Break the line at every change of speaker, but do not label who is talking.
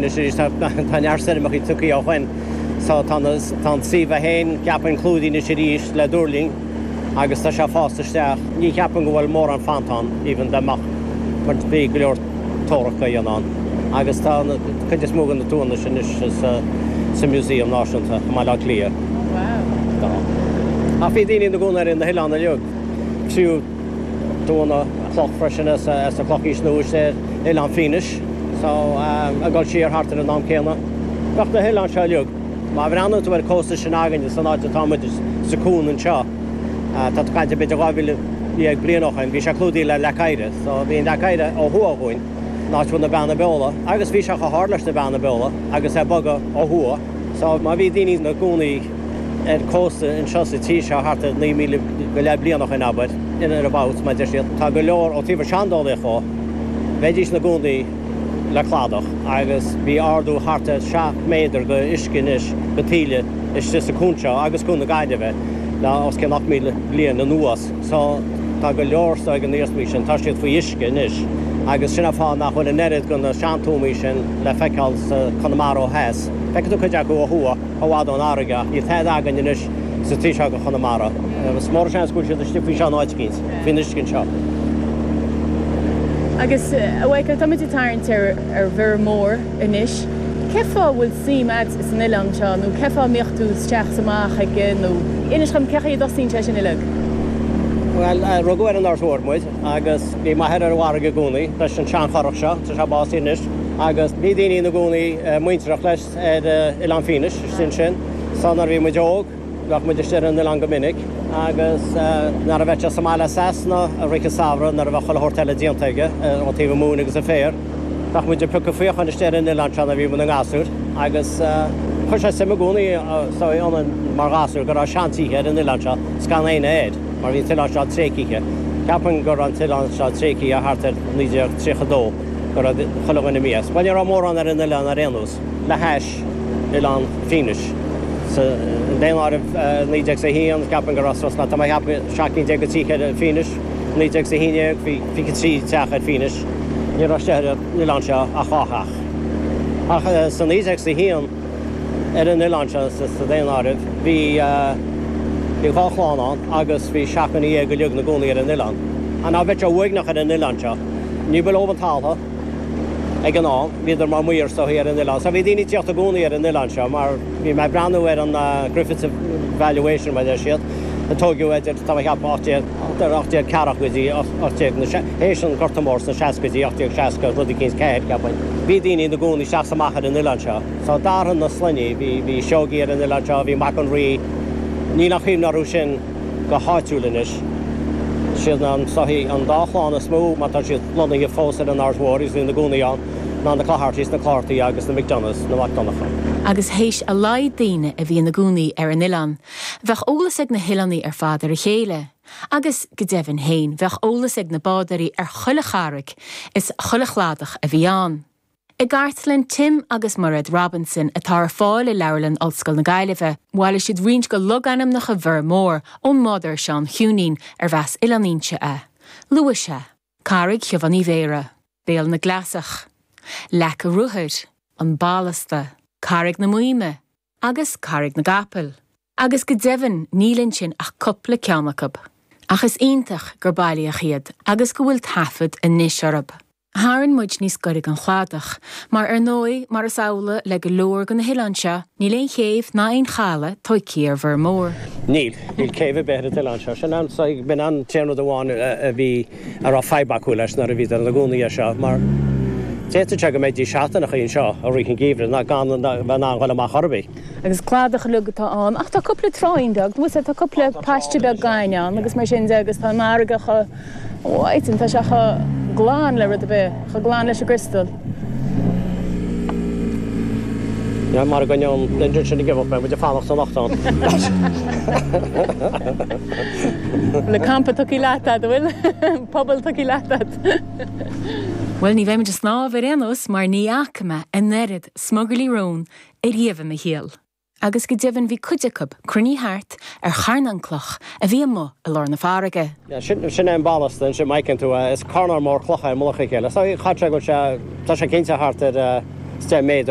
anois arís, tá neart stoirmeachaí tugtha ó shoin so tá na, tá an suíomh é féin, ceapaim, clúdaithe anois arís le duirling agus tá sé fásta isteach. Ní cheapaim go bhfuil mórán fanta ann even dá mbeadh mar bhí go leor tórach á dhéanamh ann agus tá an cuid is mó de na tuanna sin anois sa, sa Museum Náisiúnta i mBaile Átha Cliath. Tá. Ach bhí daoine ina gcónaí ar na hoileáin uilig, fiú. Tuanna cloch freisin as an Chlochaois Nua ar Oileán Fínis so ag dul siar thart ar an am céanna. Bheadh na hoileáin seo uilig, má bhreathnaíonn tú ar an cósta sin againne san áit atá muid sa cuan anseo, tá tú ag caint b'fhéidir 12,000 bliain ó shoin, bhí sé clúdaithe le leac oighre. So bhí an leac oighre ó thuaidh dhúinn, an áit a bhfuil na Beanna Beola, agus bhí sé chomh hard leis na Beanna Beola agus é ag bogadh ó thuaidh. So má bhí daoine ina gcónaí ar cósta anseo sa tír seo thart ar 9,000 go leith bliain ó shoin, abair, in or about, mar deir siad, tá go leor ó taobh an seandálaíocht dhó, bheidís ina gcónaí le cladach agus bhí ardú thart ar 7 méadar go uisce anois go taoille istigh sa cuan seo agus Cuan na Gaillimhe le os cionn 8,000 bliain anuas. So tá go leor de na hiarsmaí sin, tá siad faoi uisce anois agus sin an fáth nach bhfuil an oiread de na seantuamaí sin le feiceáil sa Conamara ó theas. Feicfidh tú cuid acu ó thuaidh, i bhfad ón fharraige ach níl tada againn anois sa taobh seo de Chonamara. Is mór an seans go bhfuil siad istigh faoi seo in áit eicínt, faoin uisce anseo.
Agus, a Mhichael, tá muid ag tarraingt ar ar Bhiorra Mór anois. Cé fáth a bhfuil suim a'd san oileán seo nó cé fáth a mbíodh tú isteach is amach aige nó inis dhom cé chaoi a dtosaíonn sé sin uilig?
Bhuel, rugadh ar an Aird Mhór muid agus bhí m'athair ar an bhfarraige i gcónaí leis an seanchurach seo, tá sé básaithe anois, agus bhí daoine ina gcónaí muintearach leis ar Oileán Fínis istigh ansin. So nuair a bhí muid óg, bheadh muid istigh ar an oileán go minic agus nuair a bheadh sé sa mbaile as Sasana i rith an samhradh nuair a bheadh chuile shórt eile déanta aige ó taobh an mhóin agus an féar, bheadh muid ag piocadh faochain istigh ar an oileán seo nuair a bhí muid ina ngasúir agus chuir sé suim i gcónaí ionainn mar ghasúir go raibh seantithe ar an oileán seo 's gan éinne air mar bhí an t-oileán seo tréigthe. Ceapaim go raibh an t-oileán seo tréigthe thart ar 1932 go raibh chuile dhuine imithe as. Bhuel ní raibh mórán ar an oileán ar aon nós le hais Oileán Fínis. Sa daonáireamh 1901 ceapaim go raibh suas le, tá mé ag ceapadh, 17 cinn de tithe ar Fínis. 1911 bhí 23 teach ar Fínis. Ní raibh istigh ar an oileán seo ach dhá theach. Ach sa 1901 ar an oileán seo sa daonáireamh bhí bhí dhá chlann ann agus bhí seacht nduine dhéag uilig ina gcónaí ar an oileán. Ach ná bheadh sé uaigneach ar an oileán seo. Ní ba leob an talamh ag an am, bhíodar mar maor is dóichí ar an oileán. So bhí daoine ag tíocht i gcónaí ar an oileán seo mar bhí mé ag breathnú ar an Griffith's Valuation mar a deir siad, a tóigeadh idir, tá mé ag ceapadh, 1840 go dtí 18, théis an Gorta Mór sna seascaidí, 1860, rud eicínt, 4, ceapaim. Bhí daoine ina gcónaí isteach is amach ar an oileán seo. So d'athraigh na sloinní, bhí, bhí Seoigí ar an oileán seo, bhí Mac an Rí, níl aon chuimhne orthu sin go háitiúil anois. Siad an, is dóichí, an dá chlann is mó, má tá siad lonnaithe fós ar an Aird Mhór agus ina gcónaí ann, ná na Cloghertys, na Cloghartaí, agus na McDonaghs, na Mac Donncha.
Agus théis a laghad daoine a bhí ina gcónaí ar an oileán, bheadh eolas ag na hoileánaigh ar fad ar a chéile. Agus, go deimhin féin, bheadh eolas ag na bádóirí ar chuile charraig is chuile chladach a bhí ann. I gcartlann Tim agus Mairéad Robinson, atá ar fáil i Leabharlann Ollscoil na Gaillimhe, bhailigh siad roinnt de logainmneacha Bhiorra Mór ón mbádóir Seán Chiúinín, arbh as Oileán Fhínse é. Luaigh sé, Carraig Shiobhán Uí Bhéarra, Béal na gCleasach, Leac a' Ruathair, An Ballasta, Carraig na Maoime agus Carraig na gCapall. Agus go deimhin níl ansin ach cupla ceann acu. Ach is iontach gur bailíodh iad agus go bhfuil taifead anois orthu. Tharraing muid níos gaire don chladach, mar ar ndóigh, mar is amhlaidh le go leor de na hoileáin seo, níl aon chéibh ná aon chaladh tóigthe ar Bhiorra Mór.
Níl. Níl céibh ar bith ar an t-oileán seo. Sin an, b'in an t-aon rud amháin a bhí, a raibh fadhb acu leis nuair a bhíodar ina gcónaí air seo, mar d'fhéadfadh sé go mbeidís seachtaineacha anseo i rith an gheimhridh ná gan a bheith in ann dhul amach chor ar bith.
Agus cladach uilig atá ann, ach tá cúpla tráigh beag, bhfuil 's a'd, tá cúpla paiste beag gainimh ann agus mar sin de agus tá an fharraige chomh white and tá sé chomh glan le rud ar bith, chomh glan leis an gcriostal.
Yeah, mara gcoinneoidh an engine sin ag imeacht, beidh muid ag fanacht anocht ann.
Bhfuil an campa tugtha leat a'd, an bhfuil? Puball tugtha leat a'd.
Bhuel, ní bheidh muid ag snámh ar aon nós mar ní fhaca mé an oiread smugairlí róin ariamh i mo shaol. Agus go deimhin bhí cuid acu cruinnithe thart ar charnán cloch a bhí amuigh i lár na farraige.
Sin, sin é an ballasta ansin, má fheiceann tú é. Is carnán mór clocha é i mullach a chéile. So, chaith sé go bhfuil sé, tá sé cinnte thart ar 10 méadar.